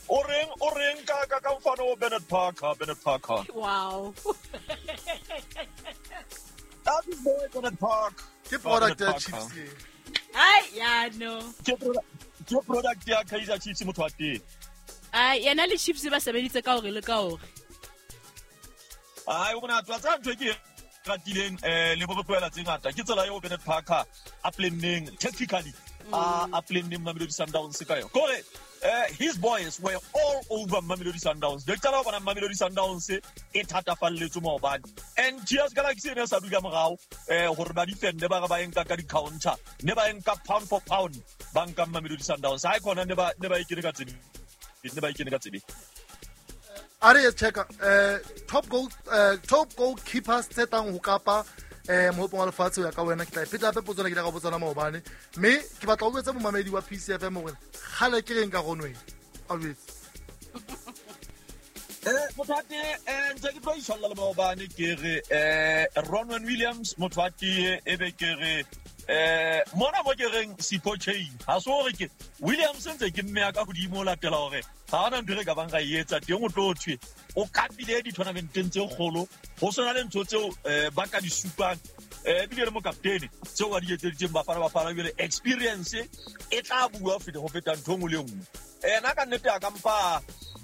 O reng ka mfana o Bernard Parker, Bernard Parker. Wow. That is boy Bernard Parker. Ke product ya Chiefs. Ai, ya no. Ke product ya Kaizer Chiefs motho wa teng. Ai, yena le Chiefs ba sebeditse ka hore le ka hore. Ai, o bona tswa tsa ntho ke ratileng le bo tlohela tse ngata. Ke tsela eo Bernard Parker a planneng tactically a planneng Mamelodi Sundowns ka yona. Kore his boys were all over Mamelodi Sundowns. They qala ho bona Mamelodi Sundowns e thatafalletswe maobane. And TS Galaxy ne sa dula morao hore ba defend ba re ba enka ka di-counter. Ne ba enka pound for pound ba nka Mamelodi Sundowns. Ha e khona ne ba e kene ka tsebe. Ne ba e kene ka tsebe. A re checka top goalkeepers tse tlang ho Kapa mohopong wa lefatshe ho ya ka wena. Ke tla e pheta hape potso ena ke ile ka botsana maobane, mme ke batla ho jwetsa momamedi wa PCFM hore kgale ke reng ka Ronwen a jwetse. Motho wa tee ntse ke tlo itshwalla le maobane ke re Ronwen Williams motho wa tee e be ke re mona mo ke reng Sipho Chaine ha se hore ke Williams ntse ke mme ya ka hodimo ho latela hore ga ona ntho e re ka bang ra e etsa teng o tlo thwe o kapile di-tournamenteng tse kgolo ho sona le ntho tseo ba ka di supang ebile le mokaptene tseo ba di etseditseng Bafana ebile experience e tla bua ho feta ntho nngwe le nngwe. Ena ka nnete a ka mpa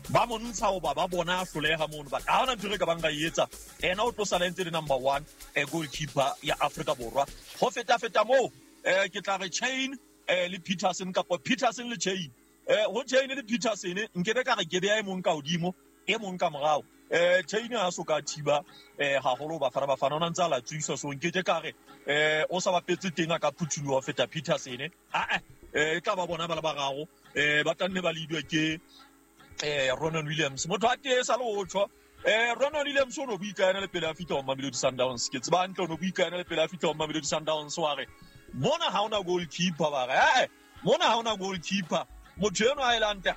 ba mo ntsha hoba ba bona a hloleha mono, but ha hona ntho e re ka bang ra e etsa. Ena o tlo sala ntse le number 1 goalkeeper ya Afrika Borwa. Ho feta moo ke tla re Chaine le Peterson kapa Peterson le Chaine. Ho Chaine le Peterson nkebe ka re ke beha e mong ka hodimo e mong ka morao. Chaine ha so ka thiba haholo Bafana ona ntse a latswisa, so nke ke ka re o sa bapetse teng a ka phuthuloha ho feta Peterson. E tla ba bona ba le bararo ba tla nne ba leadwe ke Ronwen Williams. Motho a tee sa le o tjho Ronwen Williams o no bua ka yena le pele a fihla ho Mamelodi Sundowns. Ke tseba hantle o no bua ka yena le pele a fihla ho Mamelodi Sundowns wa re mona ha ona goalkeeper ba re mona ha ona goalkeeper. Motho eno a elante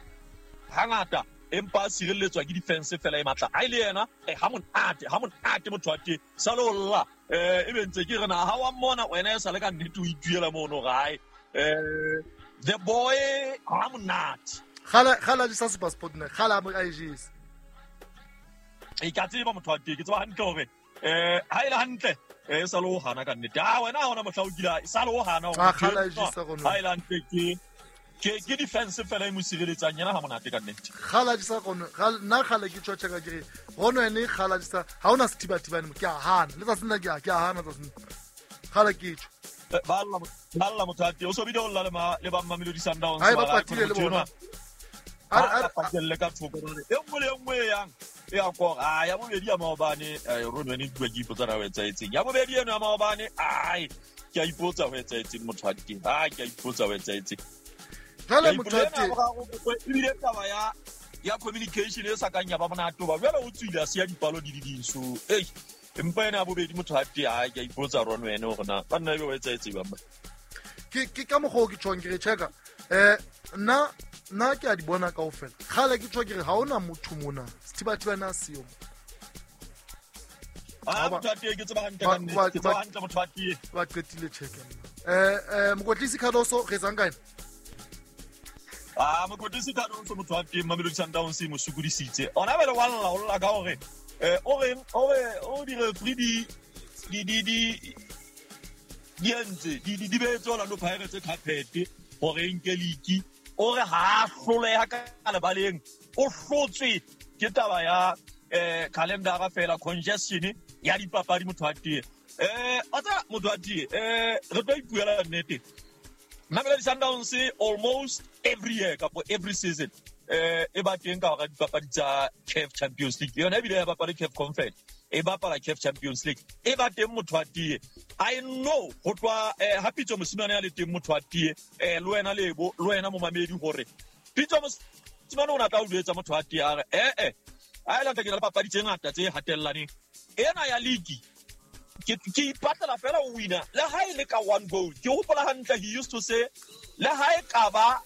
hangata empa a sireletswa ke defense fela e matla. Ha ile yena ha monate motho wa teng sa le olla e be ntse ke re na ha wa mmona wena e sa le ka nnete o ituela mono gae. The boy ha monate. Kgala di sa SuperSport ne kgala mo IGs. E ka tseba motho wa teng ke tseba hantle hore ha ile hantle e sa le ho hana ka nnete. Ha wena ha ona mohla o kila sa le ho hana hore kgala IGs sa rona. Ha ile hantle ke defense fela e mo sireletsang yena ha monate ka nnete. Kgala di sa rona nna kgale ke tjho tjeka ke re Ronwen kgala di sa ha ona sethibathibane mo ke a hana le tsatsi nna ke a hana tsatsi kgale ke tjho. Ba lla motho a teng o so bile o lla le ba Mamelodi Sundowns ba patile le bona. A patelle ka thoko re e nngwe le e nngwe yang e ya kora. Ya bobedi ya maobane Ronwen e bua ke ipotsa na ho etsahetseng. Ya bobedi eno ya maobane ai ke a ipotsa ho etsahetseng motho a teng. Ke a ipotsa ho etsahetseng. Jwale motho a teng ebile taba ya communication e sa kang ya ba monate ba jwale o tswile a siya dipalo di di ding so ei empa ena ya bobedi motho a teng ai ke a ipotsa Ronwen hore na ba nna ebe ho etsahetseng ba. Ke ka mokgwa o ke tjhong ke re checka nna ke a di bona kaofela. Kgale ke tjho ke re ha ona motho mona sethibathibane a seyo. Motho a teng ke tseba hantle ka nnete, ke tseba hantle motho a teng. Ba qetile check nna. Mokwetlisi Cardoso re etsang ka ena? Mokwetlisi Cardoso motho a teng Mamelodi Sundowns e mo sokodisitse. Ona bele wa lla o lla ka hore o reng o re o di referee di entse di beetse Orlando Pirates carpet hore e nke league. O re ha hloleha ka lebaleng o hlotswe ke taba ya calendar fela congestion ya dipapadi motho a tee. Otsa motho a tee re tlo ipuela nnete. Mamelodi Sundowns almost every year kapo every season e ba teng ka hora dipapadi tsa CAF Champions League. Yona ebile ya bapala CAF Conference, e bapala CAF Champions League. E ba teng motho a tee. I know ho tloha ha Pitso Mosimane a le teng motho a tee le wena Lebo le wena momamedi hore Pitso Mosimane o na tla o jwetsa motho a tee a re a ile ke le papadi tse ngata tse hatellaneng. Ena ya league ke ipatlela fela o wina le ha e le ka one goal. Ke hopola hantle he used to say le ha e ka ba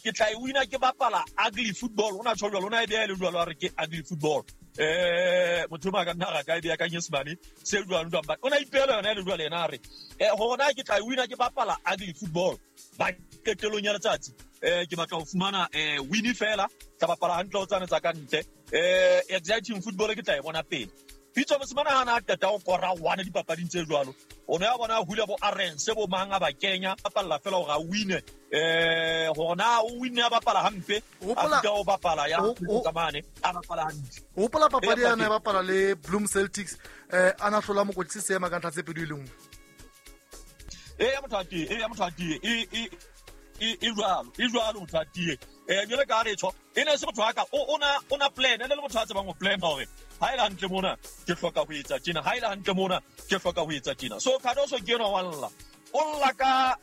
ke tla e wina ke bapala ugly football. Ona tjho jwalo, ona e beha le jwalo a re ke ugly football. Motho o ka nna ra ka e beya ka nyesemane se jwang jwang, but o na ipehela yona e le jwale yena a re hore na ke tla e wina ke bapala ugly football ba qetelong ya letsatsi, ke batla ho fumana win fela, tla bapala hantle ho tsane tsa ka ntle, exciting football ke tla e bona pele. Pitso Mosimane ha na qeta ho kora one dipapading tse jwalo, o ne a bona hula bo Arendse bo mang a ba kenya, bapalla fela hore a wine, hore na o wine a bapala hampe, a fihla o bapala ya mane a bapala hantle. Hopola papadi ya ne bapala le Bloem Celtics, a na hlola mokwetlisi seema ka ntlha tse pedi e le nngwe. E ya motho a tie, e ya motho a tie, e jwalo, e jwalo motho a tie. Jwale ka re tjho, e ne se motho wa ka, o na plan, e ne le motho a tsebang ho plan hore ha e le hantle mona ke hloka ho etsa tjena, ha e le hantle mona ke hloka ho etsa tjena. So Cardoso ke enwa wa lla, o lla ka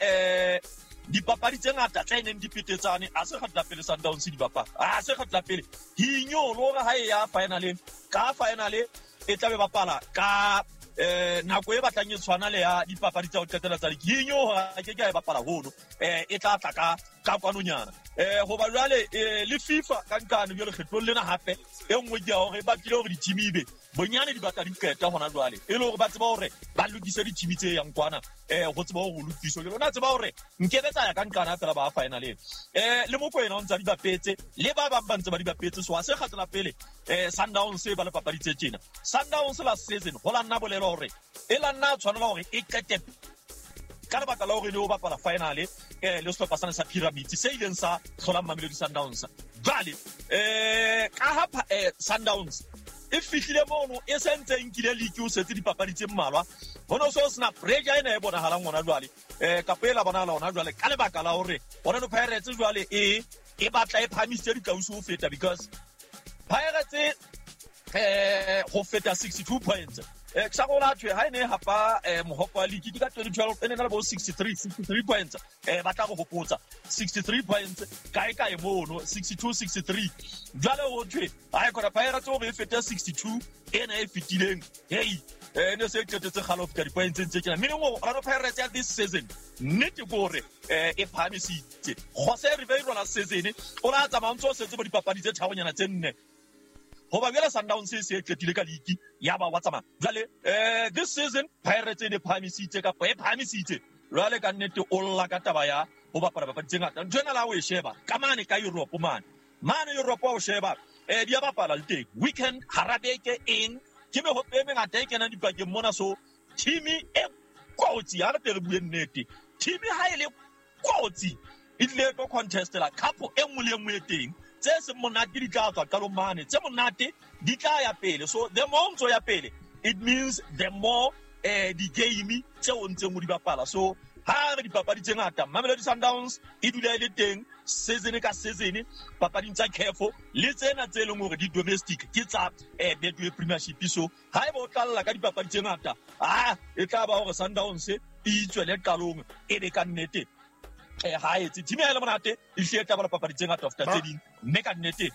dipapadi tse ngata tse neng di petetsane, a se kgetla pele Sundowns di bapala, a se kgetla pele hinyolo hore ha e ya finaleng, ka finale e tla be bapala ka nako e batlang e tshwana le ya dipapadi tsa ho qetela tsa league. Hinyo hore a ke ke a e bapala hono, e tla tla ka kwanonyana. Hoba jwale le FIFA ka nqane jwale kgetlong lena hape e nngwe ke ya hore e batlile hore di-team ebe bonyane di batla di qeta hona jwale, e le hore ba tseba hore ba lokise di-team tse yang kwana, ho tseba hore ho lokiswe. Jwale o na tseba hore nkebe tsa ya ka nqane fela ba finaleng. Le Mokoena o ntse a di bapetse, le ba bang ba ntse ba di bapetse, so ha se kgatla pele Sundowns e ba le papadi tse tjena. Sundowns last season ho la nna bolela hore e la nna tshwanela hore e qete ka lebaka la hore ne o bapala finale le sehlopha sane sa Pyramids se ileng sa hlola Mamelodi Sundowns. Jwale ka ha Sundowns e fihlile mono e se ntse e nkile league, o setse dipapadi tse mmalwa, ho no so sena pressure ena e bonahalang hona jwale, kapa e la bonahala hona jwale ka lebaka la hore Orlando Pirates jwale e batla e phahamisitse ditlausi ho feta, because Pirates ho feta 62 points. Ke sa gola thwe ha e ne hapa mohopo wa league ke ka 2012, e ne na le bo 63 points. Ba tla go hopotsa 63 points kae kae mono 62 63. Jwale ho thwe ha e khona Pirates hore e fete 62 ena e fetileng, hey ne se qetetse kgale ho feta di-points tse tjena. Meaning hore Orlando Pirates ya this season nnete ke hore e phahamisitse. Jose Riveiro last season o la tsamaya ntse o setse bo dipapadi tse tharonyana tse nne, hoba jwale Sundowns e se e qetile ka league ya ba wa tsamaya. Jwale this season Pirates e ne phahamisitse kapa e phahamisitse. Jwale ka nnete o lla ka taba ya ho bapala papadi tse ngata. Ntho ena la o e sheba ka mane ka Europe mane. Mane Europe o sheba di a bapala le teng. Weekend hara beke eng ke mehope e mengata e kenang dipakeng mona, so team e kotsi ha re tle re bue nnete. Team ha e le kotsi e tlile tlo contestela cup e nngwe le e nngwe e teng. Tse seng monate di tla tswa qalong mane, tse monate di tla ya pele. So the more ntso ya pele, it means the more di-game tseo o ntseng o di bapala. So ha re dipapadi tse ngata, Mamelodi Sundowns e dula e le teng season ka season papading tsa CAF le tsena tse leng hore di domestic ke tsa Betway Premiership. So ha eba o tlalla ka dipapadi tse ngata, e tla ba hore Sundowns e itswele qalong e be ka nnete ha etse team ya le monate e hle e tla ba le papadi tse ngata ho feta tse ding, mme ka nnete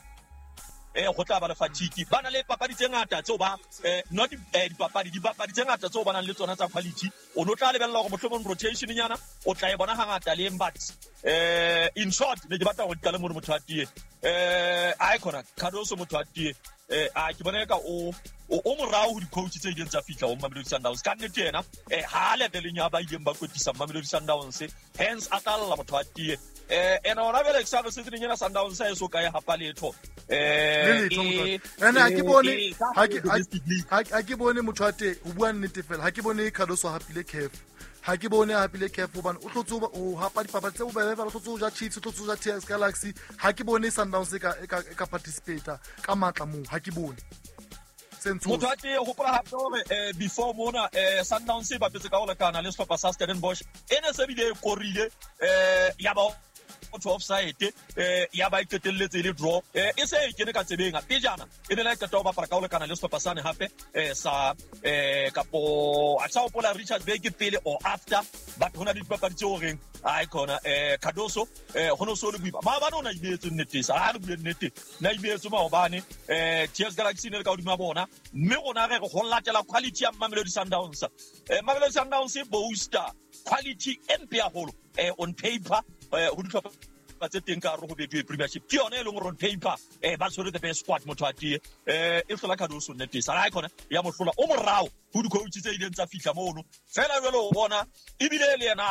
go tla ba le fatigue. Ba na le papadi tse ngata tseo ba not dipapadi, dipapadi tse ngata tseo ba nang le tsona tsa quality. O no tla lebella hore mohlomong rotation nyana o tla e bona hangata le but in short ne ke batla hore di qale mono motho a tie. A khona Cardoso motho a tie. A ke bona ka o morao ho di-coach tse ileng tsa fihla ho Mamelodi Sundowns. Ka nnete yena ha leveleng ya ba ileng ba kwetlisa Mamelodi Sundowns, hence a tla lla motho a tie. Ena hona jwale ke sa re season ena Sundowns ha e so kae hapa letho. Ene ha ke bone, ha ke bone motho a te ho bua nnete fela, ha ke bone Cardoso hapile CAF. Ha ke bone hapile CAF hobane o hlotse ho hapa dipapadi tse bobebe fela, o hlotse ho ja Chiefs, o hlotse ho ja TS Galaxy. Ha ke bone Sundowns e ka participate ka matla moo, ha ke bone. Motho a te hopola hape hore before mona Sundowns e bapetse ka ho lekana le sehlopha sa Stellenbosch, e ne se bile e korile ya ba motho offside, ya ba e qetelletse le draw, e se e kene ka tsebeng pejana e ne la qeta ho bapala ka ho lekana le sehlopha sane hape sa kapo a sa hopola Richards Bay ke pele or after, but hona le dipapadi tse horeng ai khona Cardoso ho no so le boima maobane o na imetse nnete sa ha re bue nnete na imetse maobane TS Galaxy ne le ka hodima bona, mme rona re ho latela quality ya Mamelodi Sundowns. Mamelodi Sundowns e booster quality e mpe haholo on paper ho dihlopha dihlopha tse teng ka hare ho Betway Premiership, ke yona e leng hore on paper ba tshwere the best squad, motho a tie e hlola Cardoso nnete sala khona ya mo hlola o morao ho di-coach tse ileng tsa fihla mono fela. Jwale o bona ebile le yena